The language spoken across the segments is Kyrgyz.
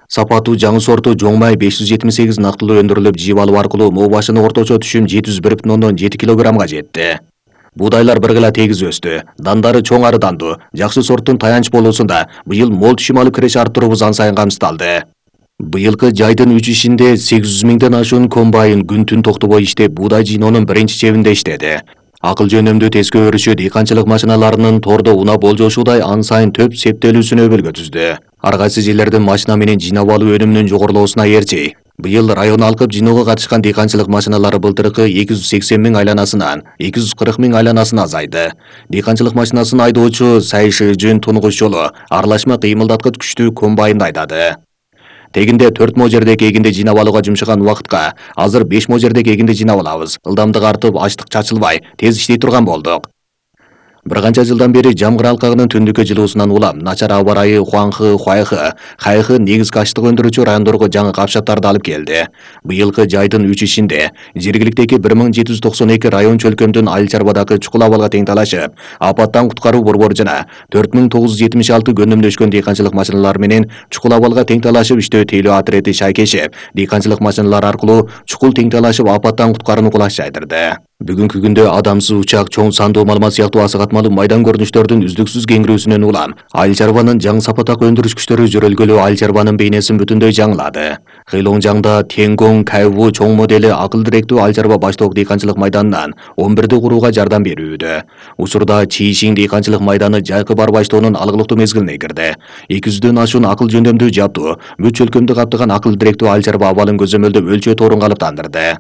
Сапатуу жаңы сорту жоң май 578 нактылуу өндүрүлүп, жеп алуу аркылуу моо башына орточо түшүм 701,7 килограммга жетти. Будайлар быргыла тегиз өстү. Дандары чоң арыдандуу. Жакшы сорттун таянч болуусунда быйыл мол түшүм алып киреш арттыруубуз ан сайын камсыздалды. Быйылкы жайдын 3 ишинде 800 миңден ашуун комбайн күн-түн токтобой иштеп буудай жыйноонун биринчи чебинде иштеди. Акыл жөнөмдүү тескөө өрүшү дыйканчылык машиналарынын тордо унап болжошуудай ан сайын төп септелүүсүнө өбөлгө түздү. Ар кайсы жерлердин машина менен жыйнап алуу өнүмүнүн жогорулоосуна ээрчи. Быйыл район алкып жыйноого катышкан дыйканчылык машиналары былтыркы 280 миң айланасынан 240 миң айланасына азайды. Дыйканчылык машинасын айдоочу Сайшыжын тунгуш жолу аралашма кыймылдаткыч күчтүү комбайнды айдады. Тегинде 4 мо жердеги эгинди жыйнап алууга жумшаган убакытка азыр 5 мо жердеги эгинди жыйнап алабыз. Ылдамдык артып, ачлык чачылбай, тез иштей турган болдук. Bir канча жылдан бери Жамгыр алкагынын түндүккө жылуусунан улам начар аба ырайы Хуанхы, Хуайхы, Хайхы негизги ачлык өндүрүүчү райондорго жаңы капшаттарды алып келди. Быйылкы жайдын 3 ишинде жергиликтеги 1792 район чөлкөмдүн Айыл чарбадагы чукул абалга тең талашып, апаттан куткаруу борбору жана 4976 көнөмдөшкөн дыйканчылык машиналары менен чукул абалга тең талашып иштөө тейлөө отрети шайкешип, дыйканчылык машиналары аркылуу чукул тең талашып апаттан куткарууну кулаш жайдырды. Бүгүнкү күндө адамсыз учак, чоң сандуу малымат сыяктуу асыгатмалуу майдан көрүнүштөрдүн үздүксүз кеңирүүсүнөн улам Айыл чарбанын жаңы сапатак өндүрүш күчтөрү жөрөлгөлүү Айыл чарбанын бейнесин бүтүндөй жаңылады. Хейлоңжаңда Тенгон Кайву чоң модели акыл директүү Айыл чарба баштоок дыйканчылык майданынан 11-ди курууга жардам берүүдө. Учурда Чийшиң дыйканчылык майданы жайкы бар баштоонун алгылыктуу мезгилине кирди. 200дөн ашуун акыл жөндөмдүү жаптуу, бүт чөлкөмдү каптаган акыл директүү Айыл чарба абалын көзөмөлдөп өлчөө тоорун калыптандырды.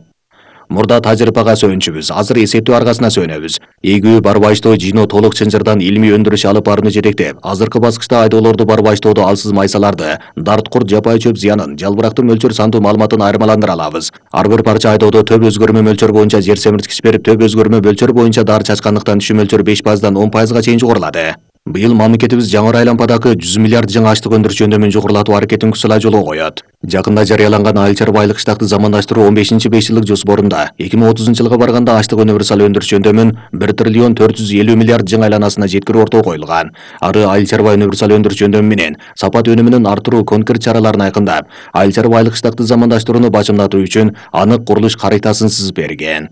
Мурда тажрыйбага сүйөнчүбүз, азыр эсептөө аргасына сүйөнөбүз. Эгүү бар баштоо жыйноо толук чынжырдан илмий өндүрүш алып барууну жетектеп, азыркы баскычта айдоолорду бар баштоодо алсыз майсаларды, дарткурт жапай чөп зыянын, жалбырактын мөлчөр сандуу маалыматын айырмаландыра алабыз. Ар бир парча айдоодо төп өзгөрмө мөлчөр боюнча жер семирткич берип, төп өзгөрмө мөлчөр боюнча дары чачкандыктан түшүм мөлчөрү 5%дан 10%га чейин жогорулады. Быйыл мамлекетибиз жаңы айлампадагы 100 миллиард жаңы ачлык өндүрүш жөндөмүн жогорулатуу аракетин күсүлай жолго коет. Жакында жарыяланган Айыл чарба айлык штатты замандаштыруу 15-5 жылдык жоспорунда 2030-жылга барганда ачлык универсал өндүрүш жөндөмүн 1 триллион 450 миллиард жаңы айланасына жеткирүү ортого коюлган. Ары Айыл чарба универсал өндүрүш жөндөмү менен сапат өнүмүнүн артыруу конкрет чараларын айкындап, Айыл чарба айлык штатты замандаштырууну бачымдатуу үчүн анык курулуш каритасын сызып берген.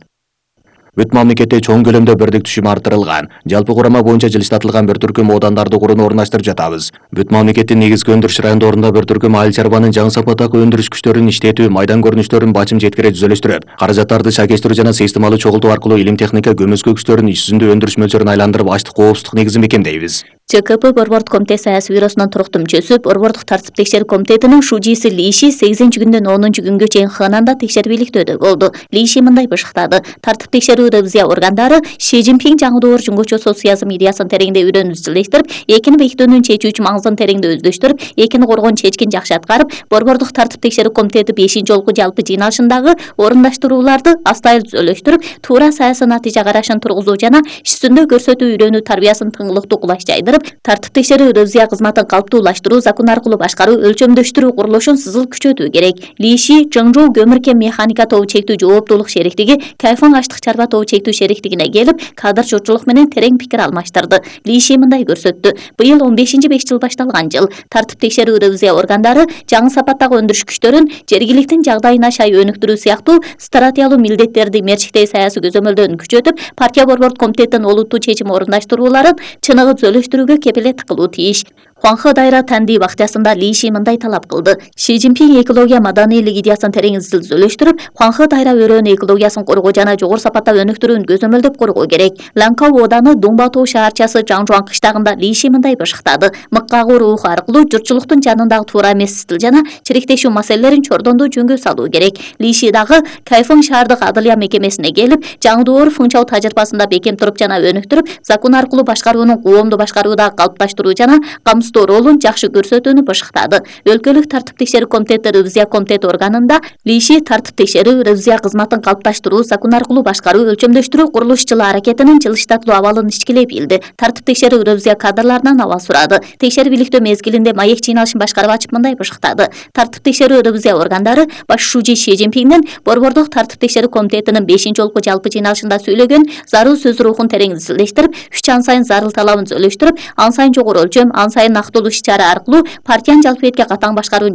Бүт мамлекетте чоң көлөмдө бирдик түшүм арттырылган. Жалпы курама боюнча жылыштатылган бир түркүм оодандарды курууну орундаштырып жатабыз. Бүт мамлекеттин негизги өндүрүш райондорунда бир түркүм айыл чарбанын жаңы сапаттагы өндүрүш күчтөрүн иштетүү, майдан көрүнүштөрүн бачым жеткире түзөлүштүрүп, каражаттарды шайкештирүү жана системалуу чогултуу аркылуу илим техника көмөскө күчтөрүн иш жүзүндө өндүрүш мөлчөрүн айландырып, ачлык коопсуздук негизин бекемдейбиз. ЧКП Борбордук комитет саясий бюросунун туруктуу мүчөсү, Борбордук тартип текшерүү комитетинин шужиси Лиши 8-күндөн 10-күнгө чейин Хананда текшербийликтөөдө болду. Лиши мындай бышыктады: тартип текшерүү ревизия органдары Ши Цзиньпин жаңы доор жөнгөчө социализм идеясын тереңде үйрөнүп изилдештирип, экини бекитүүнүн чечүүчү маңызын тереңде өздөштүрүп, экини коргоон чечкин жакшы аткарып, Борбордук тартип текшерүү комитети 5-жолку жалпы жыйналышындагы орундаштырууларды астайыл түзөлөштүрүп, туура саясий натыйжа карашын тургузуу жана иш жүзүндө көрсөтүү үйрөнүү тарбиясын тыңылыктуу кулаш жайдырып, тартип текшерүү ревизия кызматын калыптуулаштыруу, закон аркылуу башкаруу, өлчөмдөштүрүү курулушун сызыл күчөтүү керек. Лиши Чыңжоу көмүркен механика тобу чектүү жооптуулук шериктиги Кайфан ачлык чарба тобу чектүү шериктигине келип, кадр журтчулук менен терең пикир алмаштырды. Лиши мындай көрсөттү: быйыл 15-5 жыл башталган жыл. Тартип текшерүү ревизия органдары жаңы сапаттагы өндүрүш күчтөрүн жергиликтин жагдайына шай өнүктүрүү сыяктуу стратегиялуу милдеттерди мерчиктей саясий көзөмөлдөрүн күчөтүп, партия борбордук комитеттин олуттуу чечим орундаштырууларын чыныгы түзөлүштүрүүгө кепилет кылуу тийиш. Хуанхэ дайра Танди бакчасында Лиши мындай талап кылды: Ши Цзиньпин экология маданийлик идеясын терең түзөлүштүрүп, Хуанхэ дайра өрөөнү экологиясын коргоо жана жогору сапатта өнүктүрүүнү көзөмөлдөп коргоо керек. Ланкау ооданы Дунбатоо шаарчасы Жаңжуан кыштагында Лиши мындай бышыктады: мыккагуу руху аркылуу журтчулуктун жанындагы туура эмес стил жана чириктешүү маселелерин чордондуу жөнгө салуу керек. Лиши дагы Кайфан шаардык адылия мекемесине келип, жаңы доор фыңчау тажрыйбасында бекем туруп жана өнүктүрүп, закон аркылуу башкаруунун коомдуу башкарууда калыпташтыруу жана камсыздоо ролун жакшы көрсөтүүнү бышыктады. Өлкөлүк тартип текшерүү комитети ревизия комитети органында Лиши тартип текшерүү ревизия кызматын калыпташтыруу, закон аркылуу башкаруу, өлчөмдөштүрүү курулуш жылы аракетинин жылыштатылуу абалын ичкилей билди. Тартип текшерүү ревизия кадрларынан абал сурады. Текшербийликтөө мезгилинде маек жыйналышын башкарып ачып мындай бышыктады: тартип текшерүү ревизия органдары баш шужи Ши Цзиньпиндин Борбордук тартип текшерүү комитетинин 5-жолку жалпы жыйналышында сөйлөгөн зарыл сөз рухун терең изилдештирип, үч ан сайын зарыл талабын түзөлүштүрүп, ан сайын жогору өлчөм, ан сайын нактылуу иш-чара аркылуу партиянын жалпы этке катаң башкаруун